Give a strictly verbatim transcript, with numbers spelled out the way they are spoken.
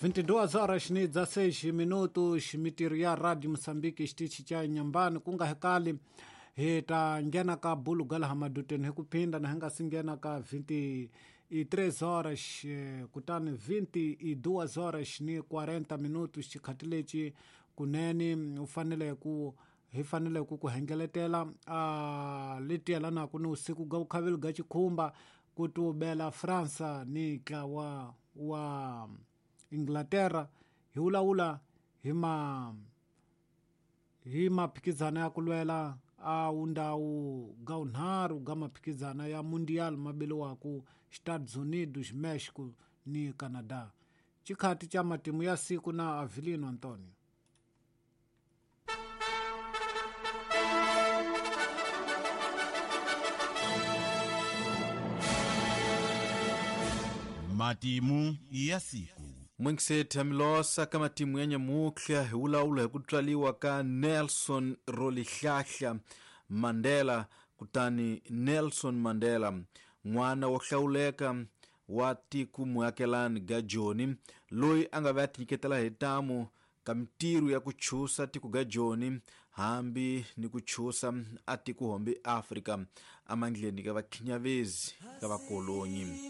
vinte e duas horas ni dezesseis minutos mitirho ya Radio Mozambique xitichi xa Nyambani ku nga hekali hi ta nghena ka bulu ga laha maduteni hi ku phinda na hi nga si nghena ka vinte e três horas kutani vinte e duas horas ni quarenta minutos xikhati lexi kunene u fanele ku hi fanele ku ku hengeletela a leti yelanaka ni usiku ga vukhaveli ga xikhumba ku tubela Fransa ni ntlawa wa Inglaterra hi vulavula hi ma hi maphikizano ya ku lwela a wundawu ga vunharhu ga maphikizano ya Mundial ma beliwaku Estados Unidos, Mexico ni Canada. Xikhati xa matimu ya siku na Avelino Antonio. Matimu ya siku. Mwenkisetha Milosa ka matimu ya nyamutlha hi vulavula hi ku tswaliwa ka Nelson Rolihlahla Mandela kutani Nelson Mandela n'wana wo hlawuleka wa tiko muakelani ga Joni loyi a nga va tinyiketela hi ntamu ka mintirho ya ku chusa tiko ga Joni hambi ni ku chusa a tiko hombe Afrika amandleni ka vakhinyavezi ka vakolonyi.